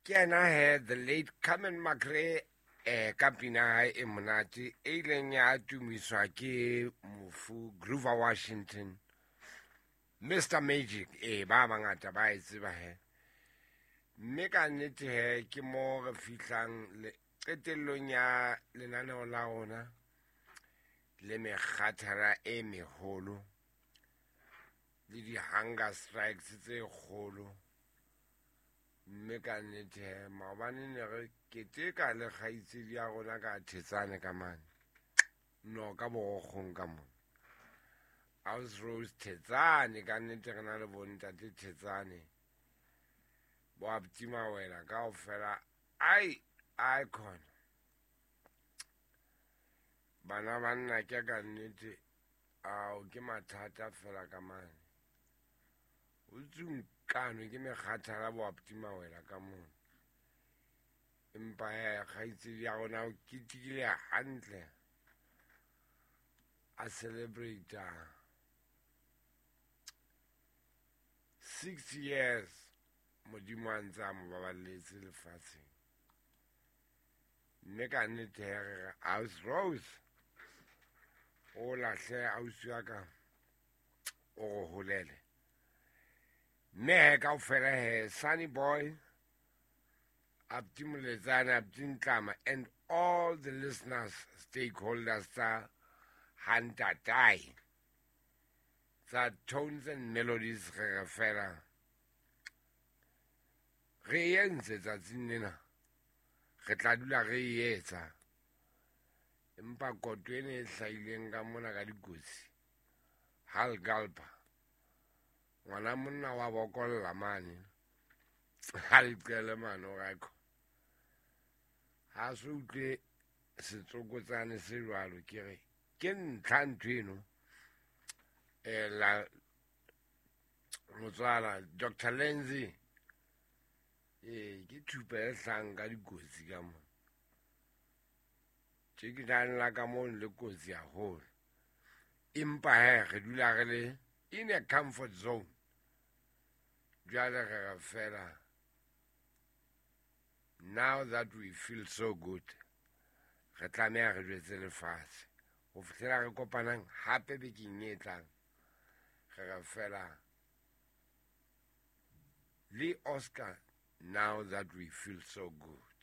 Ke yena he, the late Carmen McRae, ka pina ya hae e monate e ileng ya tumiswa ke mofu Grover Washington, Mr Magic. Ee, ba bangata ba e tseba he. Mme ka nnete he, ke mo re fihlang qetellong ya lenaneo la rona le mekgathala e meholo le di-hunger strikes tse kgolo. Mme ka nnete he, maobane ne re keteka le kgaitsedi ya rona ka Thetsane ka mane, no ka Borokgong ka mona, House Rose Thetsane. Ka nnete re na le bontate Thetsane, bo aptima wena kaofela, ai icon bana ba nna ke ka nnete. Ao, ke mathata fela ka mane, o tsunkano ke mekgathala, bo aptima wela ka mona. Empa he, kgaitsedi ya rona o ketekile hantle, a celebrate 6 years Modimo a ntse a mo baballetse lefatsheng. Mme ka nnete he, re re House Rose, o lahle ausi wa ka, o re holele. Mme he, kaofela he, Sunny Boy, Apti Moletsane, Apti Ntlama and all the listeners, stakeholders tsa Hantatai, tsa Tones and Melodies, re re fela re entse tsatsing lena, re tla dula re e etsa. Empa koto ene e hlahileng ka mona ka dikotsi, hal galpa ngwana monna wa bokolla mane, ha leqele mane o rako, ha se utlwe setsokotsane se jwalo. Ke re ke ntlha ntho eno, la motswala Dr Lenzi. Ee, ke thupa e hlang ka dikotsi ka mona tje, ke nang la ka mono le kotsi haholo. Empa he, re dula re le in a comfort zone. Jwale re re fela, now that we feel so good, re tlameha re jwetse lefatshe. Ho fihlela re kopanang hape bekeng e tlang, re re fela le Oscar, now that we feel so good.